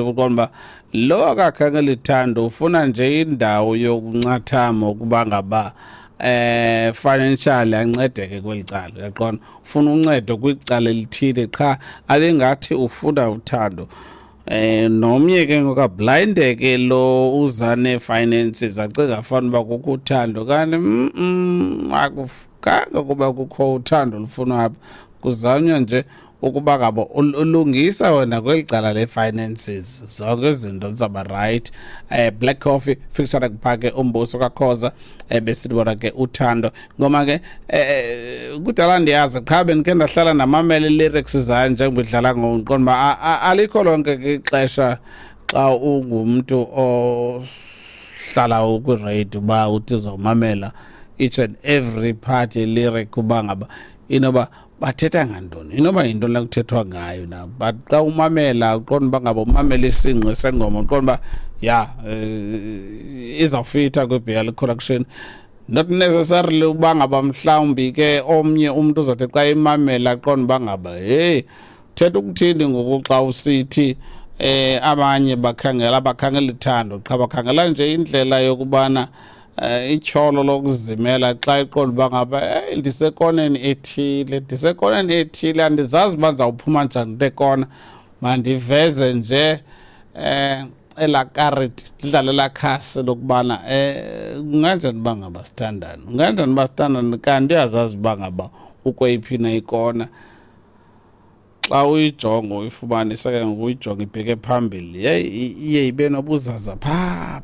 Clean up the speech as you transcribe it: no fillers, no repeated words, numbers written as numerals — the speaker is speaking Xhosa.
Uqonda uba lo akakhangela ithando, ufuna nje indawo yokuncathama ukuba ngaba financially ancedeke kweli cala, uyaqonda, ufuna uncedo kwicala elithile qha, abengathi ufuna uthando. Nomnye ke ngoku ablindeke lo uza nee-finances, acinga fana uba kukho uthando, kanti akufukanga kuba kukho uthando olufunwa apha, kuzanywa nje ukuba ngaba ulungisa wena kweli cala le-finances, zonke izinto zizawuba right. Black Coffee featuring phake uMbuso kaKhoza, besithi bona ke uthando ngoma ke kudala ndiyazi qha bendikhe ndahlala ndamamela i-lyrics zayo njengoba idlala ngoku, ndiqonda uba alikho lonke ke ixesha xa ungumntu ohlala ukwiradio uba uthi uzawumamela each and every part ye-lyric uba ngaba inoba bathetha ngantoni, inoba yintoni la kuthethwa ngayo na. But xa umamela uqonda uba ngaba umamela isingqi sengoma, uqonda uba ya izawufitha kwi-BL collection, not necessarily uba ngaba mhlawumbi ke omnye umntu uzothi xa imamela aqonda uba ngaba heyi, thetha ukuthini ngoku xa usithi abanye bakhangela ithando qha, bakhangela nje indlela yokubana ityholo lokuzimela xa iqonda uba ngaba hey, ndisekoneni ethile, andizazi uba ndizawuphuma njani kule kona, mandiveze nje elaa kariti, ndidlale elaa khasi lokubana kunganjani uba ngaba sithandane, kunganjani uba sithandane, kanti uyazazi uba ngaba ukweyiphi na ikona. Xa uyijonga uyifumanise ke ngoku, uyijonga ibheke phambili, yeyi, iye ibe nobuzaza phaa.